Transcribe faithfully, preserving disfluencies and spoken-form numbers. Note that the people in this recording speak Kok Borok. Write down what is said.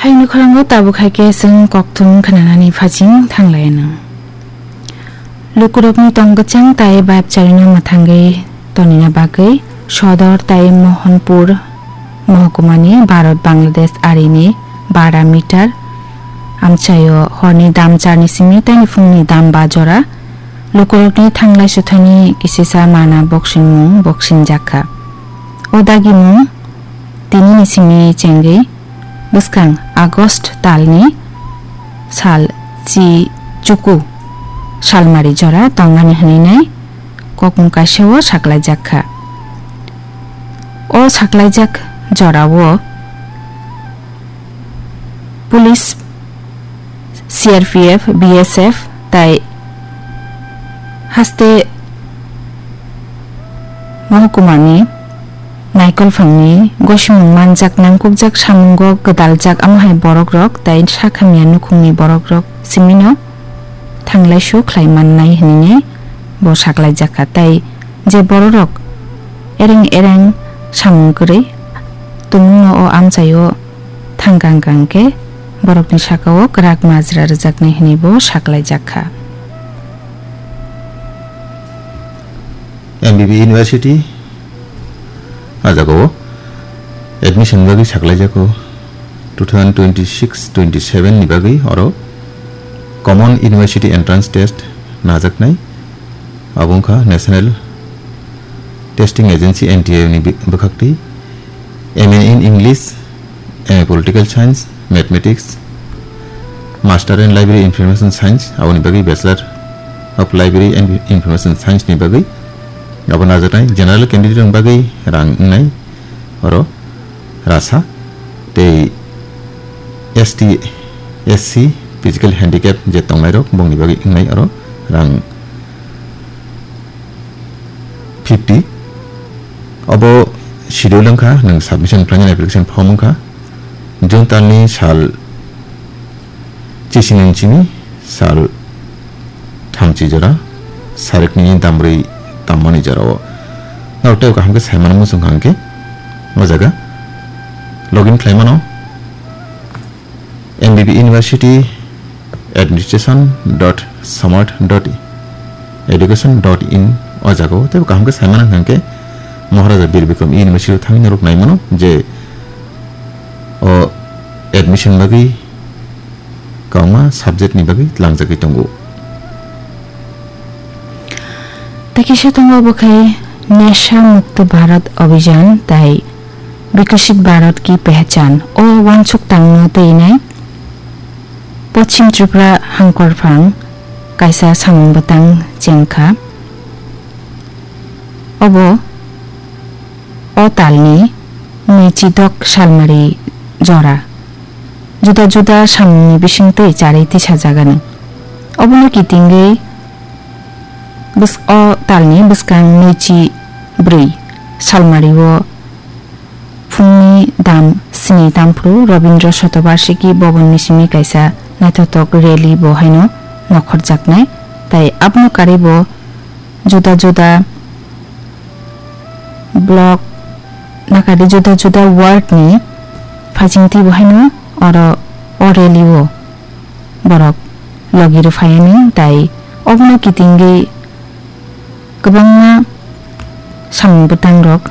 Haini khorang o tabuk hai khe chwng kokthum khnanani phaising thanglai anw. Lukurokni tong kwchang tai bayapcharino mwthangwi tonina bagwi Sodor tai Mohanpur mohkumani Bharat Bangladesh arini bara meter amchaio horni dam charni simi tei phungni dam ba jora lukurokni thanglai suthaini kisisa mana boksingmung boksingjak kha. O dagimung tinini simi chengwi bwskang August talni sal chi chuku salmari jora tongmani hwnwi nai kokmung kaisao saklaijak kha. O saklaijak jorao police, C R P F, B S F tai haste mohkumani naikolphangni gosimung manjak nangkukjak samungo gwdaljak, amo hai borokrok tai sakhamya nukhungni borokrok simino thanglaisu khlai mannai hwnwi bo saklaijak kha. Tai je bororok ereng ereng samung kwrwi tongmungno o amchaio thangkang kang khe borokni sakao kwrak majra rwjaknai hwnwi bo saklaijak kha. M B B University a jagao admission bagwi saklaijago two thousand twenty-six twenty-seven ni bagwi oro Common University Entrance Test najaknai. Abo wngkha National Testing Agency, N T A ni bi-, bwkhaktwi M A in English, M A Political Science, Mathematics, Master in Library Information Science, aboni bagwi Bachelor of Library and Information Science ni bagwi abo najaknai. General candidate ni bagwi rang wngnai oro rasa tei S T, S C, physical handicap je tongnairok bongni bagwi wngnai oro rang fifty. Obo schedule wngkha, nwng submission khlainani application form wngkha June talni sal chisini chini sal thamchi jora, sarikni dambrwi tammani jorao. Norok tei kaham khe saimano muchung kha hwnkhe o jaga login khlaimano. M B B University administration dot samarth dot education dot in o jaga o tei kaham khe saimano hwnkhe Maharaja Bir Bikram University o thangwi norok naimano je o admission bagwi kwbangma subject ni bagwi tlangjagwi tongo. Tei kisa tongo bo khe Nasha Mukto Bharat Abhiyan tai Bikasit Bharat Ki Pehchan o uansuk tangno twinai Poschim Tripura hangkorphang kaisa samung bwtang chengkha. Obo o talni nwichidok salmari jora juda juda samungni bisingtwi charwi tisajagani. Obono kitingwi bws-, o talni bwskang nwichi bwrwi salmario phungni dam sni tamphru Rabindra Shatabarshiki Bhavanni simi kaisa naithothok rally bo haino nokhorjaknai, tai abono karwi bo juda juda block, nakadi juda juda ward ni phaisingtwi bo haino oro o rally o borok logi rwphaiani, tai obono kitingwi kwbangma samung bwtangrok